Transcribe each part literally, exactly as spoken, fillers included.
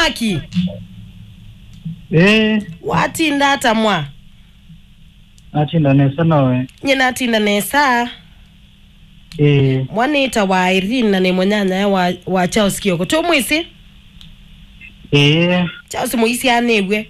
Maki. Ĩĩ. Watinda ata mwa? Natinda nesa nawe? Nye natinda nesa. Ĩĩ. Mwanĩta wa Irene na nĩ mũnyanyae wa, wa Charles Kioko. Tũmwĩsĩ? Ĩĩ. Charles mũisyanĩw'e.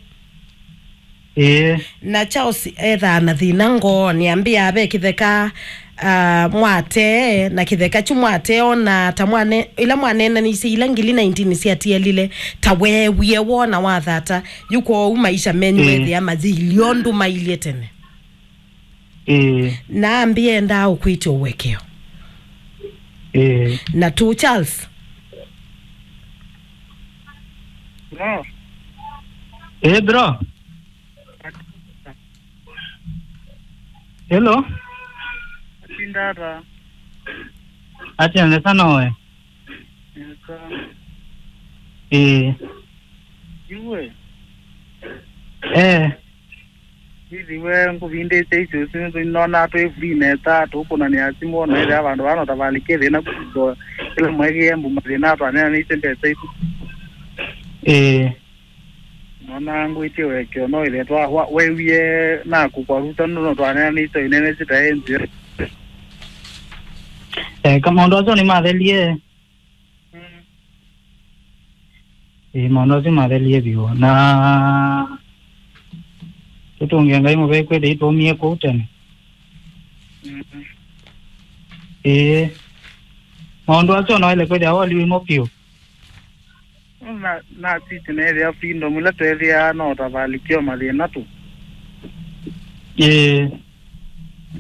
Ĩĩ. Na Charles ethaa na thĩna ngoonĩ, ambĩa ve kĩtheka, ah, mwatee, na kĩtheka kyu mwatee ona ta mwane, ila mwaneenanisye ila ngili nineteen syatialile, ta weewie wona wathata, yu kwoou maisha menyu Ĩĩ. Methĩa mayĩilye ũndũ mailye tene. Ĩĩ. Na ambĩa endaa ũkwĩtya ũwekeo. Ĩĩ. Na tũ Charles. Bro. Ĩĩ, bro. Hello. Atinda ata? Atia nesa nowe? Nesa. Ĩĩ. Iwe. Eh. Ithiwe ngũvindĩte icio, icio nĩnonaa twĩ free nesa, tũkũnanĩa simũ, ona ĩthĩa vandũ vano tavalĩkie thĩna kũsisyo, kĩla mwekĩe mbu mathĩna twaneenanĩisye mbesa isu. Ĩĩ. Nona ngwĩtie wekeo no ĩthĩa twa wa- wewie naku kwa ruta nũno twaneenanĩisye inene sitae nzio. Eh, ka maũndũ asu nĩmathelie. Mm. Ĩĩ, maũndũ asu mathelie vyũ. Na tũtũngĩe Ngai mũvea kwĩthĩa itũmie kũu tene. Mm. Ĩĩ. Maũndũ asu no ele kwĩthĩa woliwimo vyũ. Na, na sisi neethĩa freedom ila tweethĩaa no ta valikio mathĩna tu. Ĩĩ.